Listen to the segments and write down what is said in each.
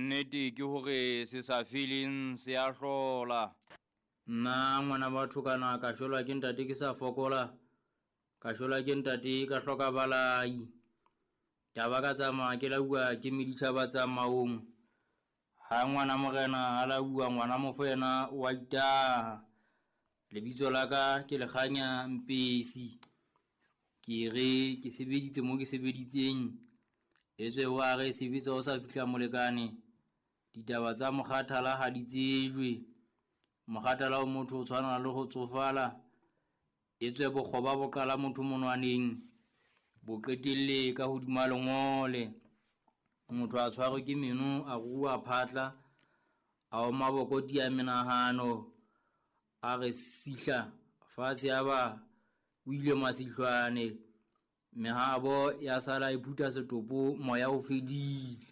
Nnete ke hore se sa feleng se a hlola. Nna ngwana batho kana ka shwelwa ke ntate ke sa fokola, ka shwelwa ke ntate ka hloka balai. Ka ba ka tsamaya ke lauwa ke meditjhaba tsamaong. Ha ngwana morena a lauwa ngwana mofo yena wa itaha. Lebitso la ka ke Lekganya Mpesi. Ke re ke sebeditse mo ke sebeditseng. Etswe wa re sebetsa o sa fihla molekane. Ditaba tsa mokgathala ha di tsejwe. Mokgathala o motho o tshwana le ho tsofala. Etswe bokgoba bo qala motho monwaneng. Bo qetelle ka hodima lengole. Motho a tshwarwe ke meno, a ruruha phatla, a oma bokoti a menahano, a re sihla fatshe ya ba o ile masihlwane. Mehabo ya sala e phutha setopo, moya o fedile.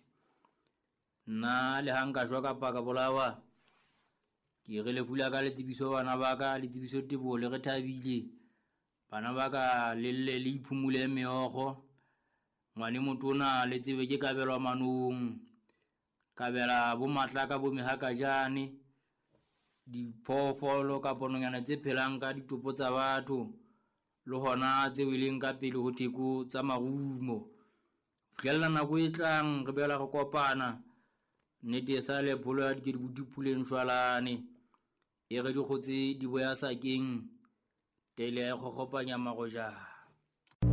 Nna le ha nka shwa kapa ka bolawa, ke re lefu la ka le tsebiso bana ba ka, le tsebiso Teboho le re thabile. Bana ba ka le lle le iphumule meokgo. Ngwane motona le tsebe ke kabelwa manong. Kabela bo matlaka bo mehakajane. Diphoofolo kapa nonyana tse phelang ka ditopo tsa batho. Le hona tse weleng ka pele ho theko tsa marumo. Fihlella nako e tlang re boela re kopana. Nnete e sa le pholo ya dikedibuti puleng shwalane. E re dikgotse di boya sakeng. Tele ya e kgokgopanya marojana.